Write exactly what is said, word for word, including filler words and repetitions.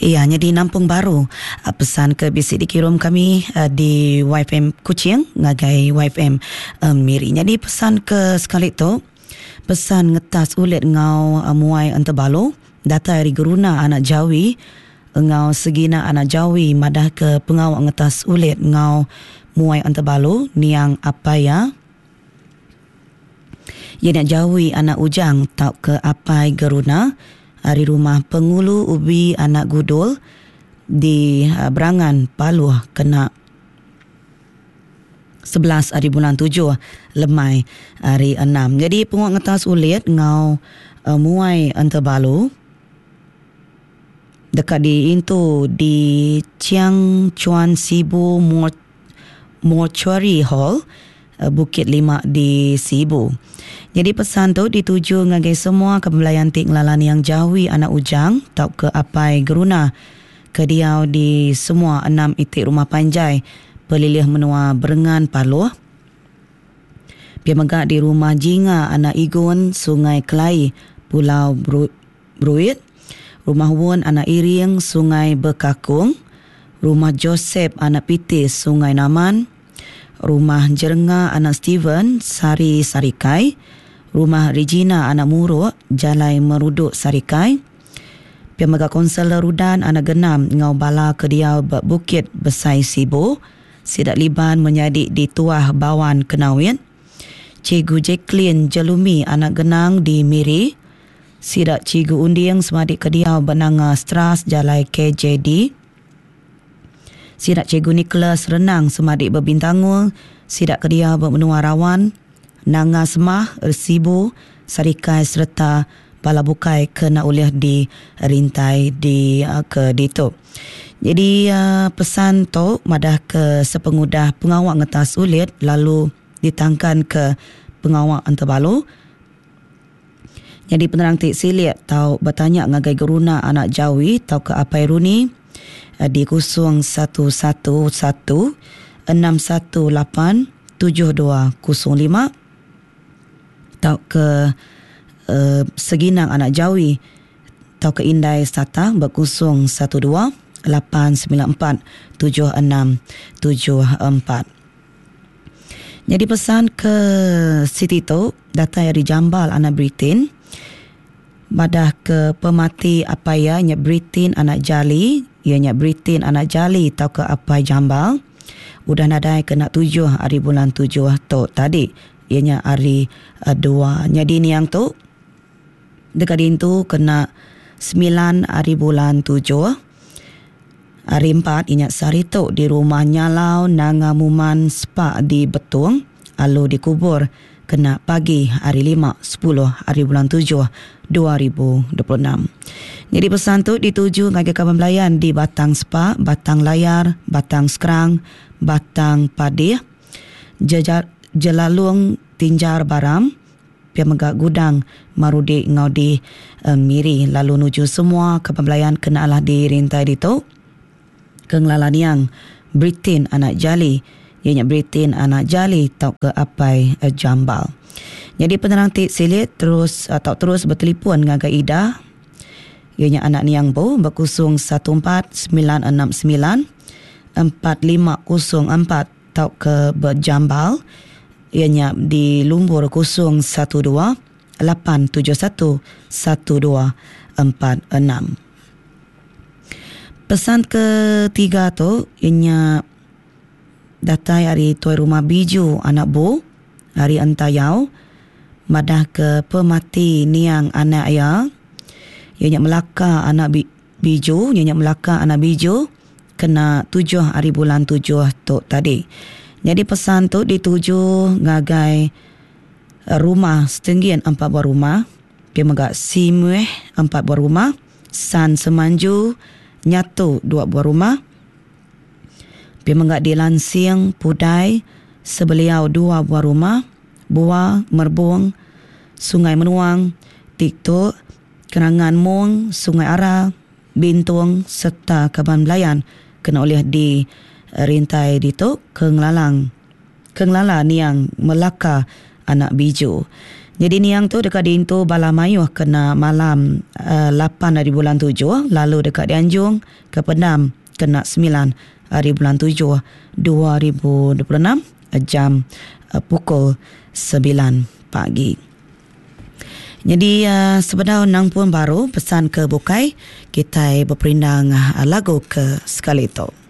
Iya nyadi nampung baru pesan ke bisi dikirum kami di Y F M Kuching ngagai Y F M Miri. Nyadi pesan ke sekali tu pesan ngetas ulit ngau muai entebalu datai ari Geruna anak Jawi ngau Segina anak Jawi madah ke pengawa ngetas ulit ngau muai entebalu niang apai iya. Iya nya Jawi anak Ujang tauka apai Geruna ari rumah Pengulu Ubi anak Gudul di Berangan Paluh kena sebelas ari bulan tujuh lemai hari enam. Jadi penguat ngetas ulit ngau uh, muai entebalu dekat di intu di Chiang Chuan Sibu Mortuary Hall Bukit Lima di Sibu. Jadi pesan tu dituju ngagai semua kebelayan ti ngelalan yang Jawi anak Ujang tauka apai Geruna ke diau di semua enam itik rumah panjai pelilih menua Berengan Paluh. Pia mega di rumah Jinga anak Igun Sungai Kelai Pulau Bruit, rumah Wun anak Iring Sungai Bekakung, rumah Joseph anak Pitis Sungai Naman, rumah Jerenga anak Steven Sari Sarikai, rumah Regina anak Muruk Jalai Meruduk Sarikai, pia mega konselor Rudan anak Genam ngau bala ke diau ba Bukit Besai Sibu, Sidak Liban menyadi di Tuah Bawan Kenawit, Cikgu Jacqueline Jelumi anak Genang di Miri, Sidak Cikgu Unding semadi ke diau ba Nanga Stras Jalai K J D, Sidak Cikgu Nicholas Renang semadi berbintangul, Sidak kedia bermenua Rawan, Nanga Semah, Sibu, Sarikai serta bala bukai kena ulih di rintai di ke ditu. Jadi pesan tu madah ke sepengudah pengawak ngetas ulit lalu ditangkan ke pengawak entebalu. Jadi penerang ti silik tau bertanya ngagai Geruna anak Jawi tau ke apai Runi di kosong satu satu satu enam satu lapan tujuh dua kosong lima tau ke uh, Seginang anak Jawi tau ke Indai Sata berkosong satu dua lapan sembilan empat tujuh enam tujuh empat. Jadi pesan ke Siti tu datai dari Jambal anak Britain madah ke pemati apai iya nya Britain anak Jali, iya nya Britain anak Jali tau ke apai Jambal udah nadai kena tujuh hari bulan tujuh tu tadi, iya nya hari uh, dua. Jadi niang tu dekat dintu kena sembilan hari bulan tujuh hari empat iya nya sehari tu di rumah Nyalau Nanga Muman Spa di Betong alu dikubur kena pagi hari lima sepuluh hari bulan tujuh dua ribu dua puluh enam. Jadi pesan tu dituju ngagai kaban belayan di Batang Spa, Batang Layar, Batang Skrang, Batang Padih, Jejar, Jelalung Tinjar Baram, pia mega Gudang Marudi ngau di uh, Miri lalu nuju semua kaban belayan kena alah di rintai ditu ke ngelala niang Britain anak Jali, iya nya Britain anak Jali tau ke apai uh, Jambal. Jadi penerang ti silit terus atau terus bertelefon ngagai Ida, iya nya anak niang bu berkosong satu empat sembilan enam sembilan empat lima kosong empat tau ke berjambal, iya nya di lumbur kosong satu dua lapan tujuh satu satu dua empat enam. Pesan ketiga tu ianya datai ari tuai rumah Biju anak Bu ari Entayau madah ke pemati niang anak iya, iya nya Melaka anak Biju, iya nya Melaka anak Biju kena tujuh hari bulan tujuh tu tadi. Jadi pesan tu dituju ngagai rumah Setenggian empat buah rumah, pia mega Simueh empat buah rumah, San Semanju Nyatu dua buah rumah, pia mega di Lansing Pudai Sebeliau dua buah rumah, Buah Merbung Sungai Menuang Tiktuk Kenangan Mung Sungai Ara Bintung serta Kaban Belayan kena oleh di rintai ditu ke ngelalang ke ngelala niang Melaka anak Biju. Jadi niang tu deka diintu bala mayuh kena malam uh, lapan hari bulan tujuh lalu deka dianjung ke pendam kena sembilan hari bulan tujuh dua ribu dua puluh enam jam uh, pukul sembilan pagi. Jadi uh, sebedau nang pun baru pesan ke bukai kita berperindang uh, lagu ke sekali tu.